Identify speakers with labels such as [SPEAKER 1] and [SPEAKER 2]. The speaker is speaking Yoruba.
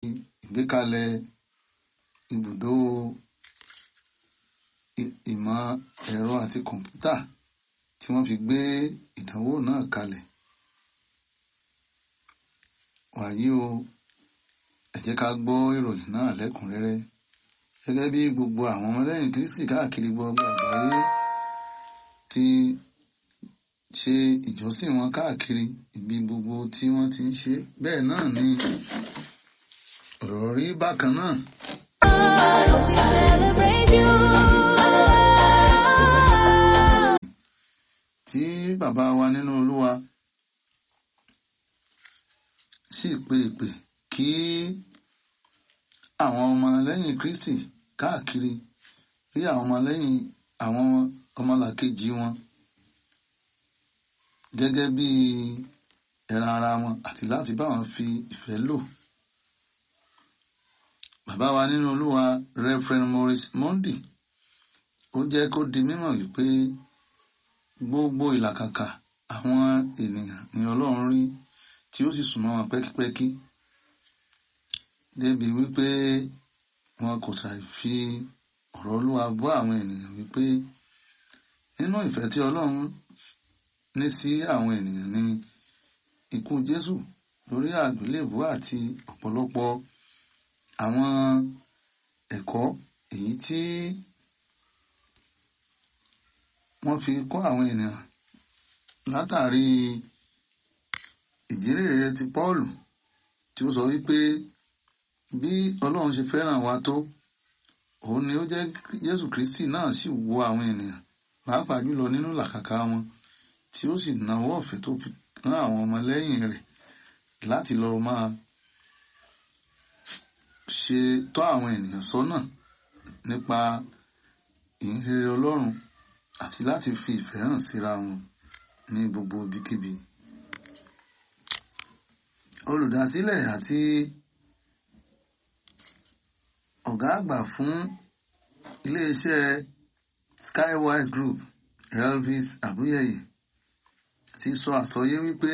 [SPEAKER 1] Ìgbékalẹ̀ ibùdó ìmọ̀ ẹ̀rọ àti kọ̀m̀pútà tí wọ́n fi gbé ìdánwò náà kalẹ̀. Wàyí o, ẹ jẹ́ ká gbọ́ ìròyìn náà lẹ́kùnrẹ́rẹ́. Gẹ́gẹ́ bí gbogbo àwọn ọmọlẹ́yìn Kristi káàkiri gbogbo àgbáyé ti ṣe ìjọsìn wọn káàkiri ibi gbogbo tí wọ́n ti ń ṣe, bẹ́ẹ̀ náà ni ọ̀rọ̀ rí bákan náà.
[SPEAKER 2] We celebrate you.
[SPEAKER 1] Tí bàbá wa nínú Olúwa sì pe ìpè kí àwọn ọmọlẹ́yìn Kristi káàkiri rí àwọn ọmọlẹ́yìn àwọn ọmọlàkejì wọn gẹ́gẹ́ bí ẹran ara wọn àti láti bá wọn fi ìfẹ́ lò. Bàbá wa nínú Olúwa Reverend Maurice Mondi ó jẹ́ kó di mímọ̀ wípé gbogbo ìlàkàkà àwọn ènìyàn ni Ọlọ́run rí tí ó sì súnmọ́ wọn pẹ́kípẹ́kí débi wípé wọn kò ṣàì fi ọ̀rọ̀ Olúwa bọ́ àwọn ènìyàn wípé nínú ìfẹ́ tí Ọlọ́run ní sí àwọn ènìyàn ni ikú Jésù lórí àgbélébùú àti ọ̀pọ̀lọpọ̀ àwọn ẹ̀kọ́ èyí tí wọ́n fi kọ́ àwọn ènìyàn látàrí ìjírèrè ti Pọ́ọ̀lù tí ó sọ wípé bí Ọlọ́run ṣe fẹ́ràn wa tó, òun ni ó jẹ́ Jésù Kristi náà sì wo àwọn ènìyàn pàápàá jùlọ nínú làkàkà wọn tí ó sì nawọ́ ọ̀fẹ́ tó fi rán àwọn ọmọlẹ́yìn rẹ̀ láti lọ máa ṣe tọ́ àwọn ènìyàn sọ́nà nípa ìhìnrere Ọlọ́run àti láti fi ìfẹ́ hàn síra wọn ní gbogbo ibikíbi. Olùdásílẹ̀ àti ọ̀gá àgbà fún iléeṣẹ́ Skywise Group, Elvis Abuyeye, ti sọ àsọyé wípé